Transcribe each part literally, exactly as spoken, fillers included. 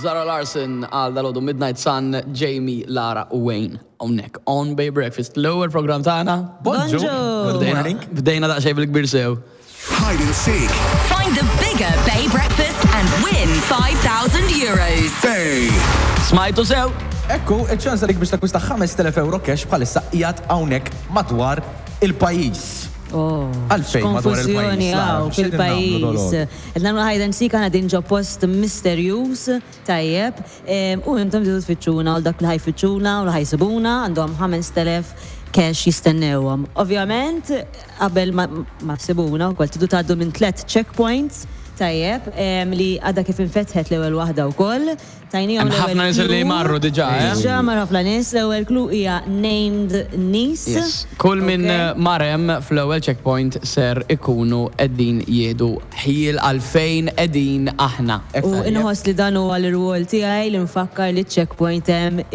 Zara Larsson għal dalgħodu Midnight Sun, Jamie, Lara u Wayne. Hawnhekk, on Bay Breakfast, l-ewwel program tagħna. Bonġu. Bdejna, bdejna daqsxejn bil-kbir sew. Hide and seek. Find the bigger Bay Breakfast and win five thousand euros. Bay. Smajtu sew? Ekku, iċ-ċans għalik biex takwista ħamest elef euro cash bħalissa qiegħed hawnhekk madwar il-pajjiż. Oh, Għalfejn madwar konfużjoni il-pajjiż, Lara? għaw X'qegħdin nagħmlu fil-pajjiż. dalgħodu? Qed nagħmlu hide and seek, għana din ġo post misterjuż, tajjeb, em, u intom tridu tfittxuna, u dak li ħa jfittxuna u li ħa jsibuna għandhom ħamest elef cash jistennewhom. Ovvjament, qabel ma ma ssibuna wkoll tridu tgħaddu minn tliet checkpoints, tajjeb, em, li għadha kif infetħet l-ewwel waħda wkoll. Tajnihom Hemm ħafna l-ewwel nies li clue. marru diġà, eh? Diġà marru ħafna nies, l-ewwel clue hija named niece. Yes. Kull minn Okay. mar hemm fl-ewwel checkpoint ser ikunu qegħdin jieħdu ħjiel għalfejn qegħdin aħna. U inħoss li dan huwa l-rwol tiegħi li nfakkar li checkpoint hemm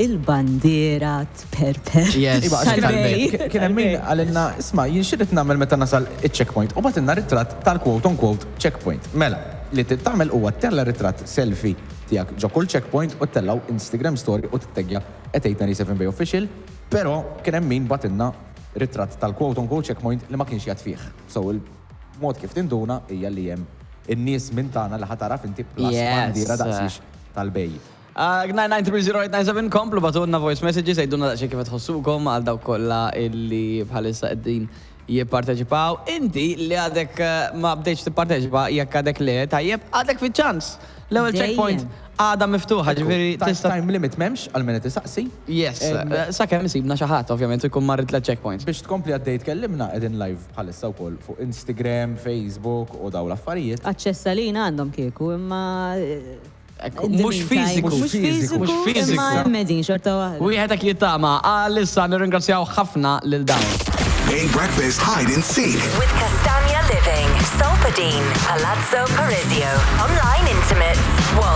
il-bandiera tperper. Yes. Iba, għax kien Tal-Bay. hemm- kien hemm min għalinna, "Isma', jien x'irrid nagħmel meta nasal iċ-checkpoint?" U bagħtilna ritratt tal-quote on quote checkpoint. Mela, li trid tagħmel huwa ttella' ritratt selfie tiegħek ġo kull checkpoint u ttellgħu Instagram story u titteggja at eight nine seven Bay Official, però kien hemm min bagħtilna ritratt tal-quote on quote checkpoint li ma kienx jgħad fih. So il-mod kif tinduna hija li hemm in-nies minn tagħna li ħa taraf inti plus Yes. bandiera daqsix tal-Bay. Uh, nine nine three zero eight nine seven, komplu bagħtulna voice messages, għidulna daqsxejn kif tħossukom għal dawk kollha illi bħalissa qegħdin jipparteċipaw. Inti li għadek eh, ma bdejtx tipparteċipa, jekk għadek le, tajjeb, għadek fi ċans. L-ewwel Dejjem. checkpoint għadha miftuħa, ġifieri Time- tista' Time limit m'hemmx għal min qed isaqsi. Yes, Em, eh, sakemm isibna xi ħadd, ovvjament, ikun marrit tliet checkpoints. Biex tkompli għaddej tkellimna, qegħdin live bħalissa wkoll fuq Instagram, Facebook u daw l-affarijiet. Aċċess għalina għandhom kieku, imma eh, Ekku, in the mhux meantime, fiżiku. mhux fiżiku, Mhux fiżiku. imma hemm qegħdin xorta waħda. Wieħed hekk jittama, għalissa nirringrazzjaw ħafna lil dawn. Bay Breakfast Hide and Seek. With Castagna Living, Solpadeine, Palazzo Parisio, Online Intimates, Wolt.